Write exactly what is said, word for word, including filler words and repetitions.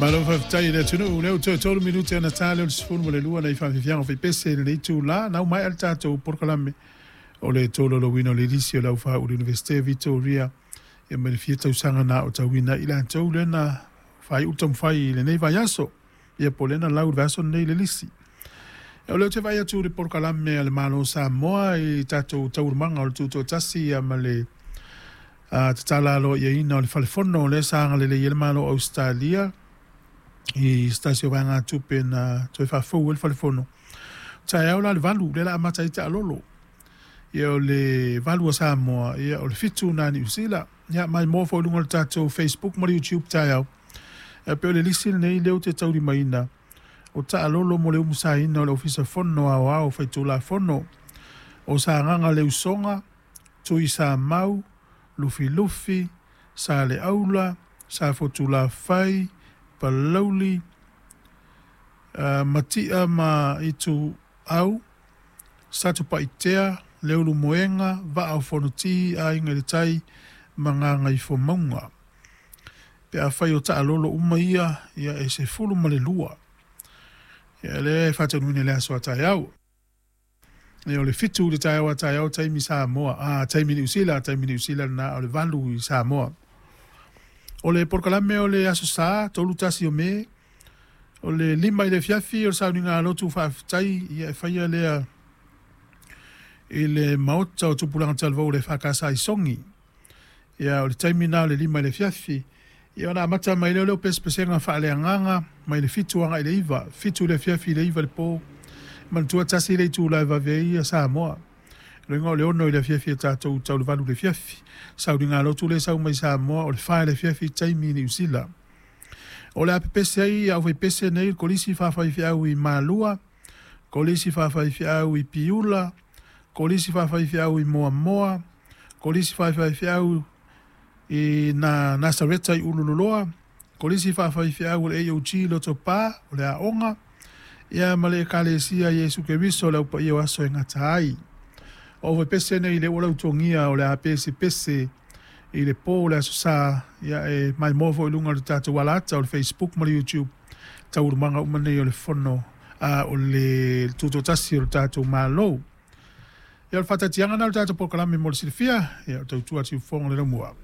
Malo faafetai i le atunuu lea ua toe tolu minute ona ta lea o le sefulu ma le lua nai faafiafiaga o faipese i lenei itulā na uma ae le tatou polokalame o le tolaulauina o le lisi o le aufaiaulu Iunivesite Vitoria ia ma le fia tausaga na aotauina ai i latou lea na faaiu le taumafai i lenei vaiaso ia po o lea na lau i le vaiaso lenei le lisi. O lea ou te vaai atu i le polokalame a le Malo o Samoa i tatou taualumaga o le Tutoatasi ia ma le tatala aloaiaina o le Fale Fono lea sa agalelei ai le Malo o Ausetalia i se tasi o vaegatupe na toe faafou ai le Fale Fono. Taeao la le valu lea o le a amata ai taalolo. Ia o le valu a Samoa, ia o le fitu na Niu Sila. Ia maimoa foi i luga o le tatou Facebook ma le YouTube taeao. E pei o le lisi lenei lea ou te taulimaina o taalolo mo le umusaina o le Ofisa Fono Aoao Faitulafono o Sagaga Le Usoga, Tui Samau, Lufilufi, Saleaula, Safotulafai, Palauli, uh, Matia ma Ituau, Satupaitea, Leulumoega, Vaa o Fonoti, Aiga i le Tai ma Gagaifomauga. Pe afai o taalolo uma ia, ia e sefulu ma le lua. Ia lea e faataunuuina i le aso a taeao. Ia o le fitu i le taeao a taeao taimi Samoa, a taimi Niu Sila, taimi Niu Sila lena o le valu i Samoa. O le polokalame o le Aso Sa, tolu tasi o Me, o le lima i le afiafi o le sauniga lotu faafetai, ia e faia lea i le maota o Tupulaga Talavou le Fakasa i Sogi. Ia o le taimi na o le lima i le afiafi. Ia ona amata mai lea o lea o pesepesega faaleagaga mai le fitu agai i le iva, fitu i le afiafi i le iva i le po. Manatua tasi le itula e vave ai ia Samoa. Loiga o le ono i le afiafi e tatou tau le valu i le afiafi. Sauniga lotu le sau mai Samoa o le fa i le afiafi taimi i Niu Sila. O le a pepese ai au faipese nei le kolisi faafaifiau i Malua, kolisi faafaifiau i Piula, kolisi faafaifiau i Moamoa, kolisi faafaifiau i na Nasareta i Ulululoa, kolisi faafaifiau o le A O G Lotopa o le aoga, ia ma le Ekalesia Iesu Keriso le aupaia o aso e gata ai. O faipese nei le ua lautogia o le a pesepese i le po o le Aso Sa, ia e maimoa foi i luga o le tatou alata o le Facebook ma le YouTube taualumaga uma nei o le fono a o le tutoatasi o le tatou Malo. Ia o le faataatiaga na o le tatou polokalame mo le silafia, ia o tautua atu i fofoga o le laumua.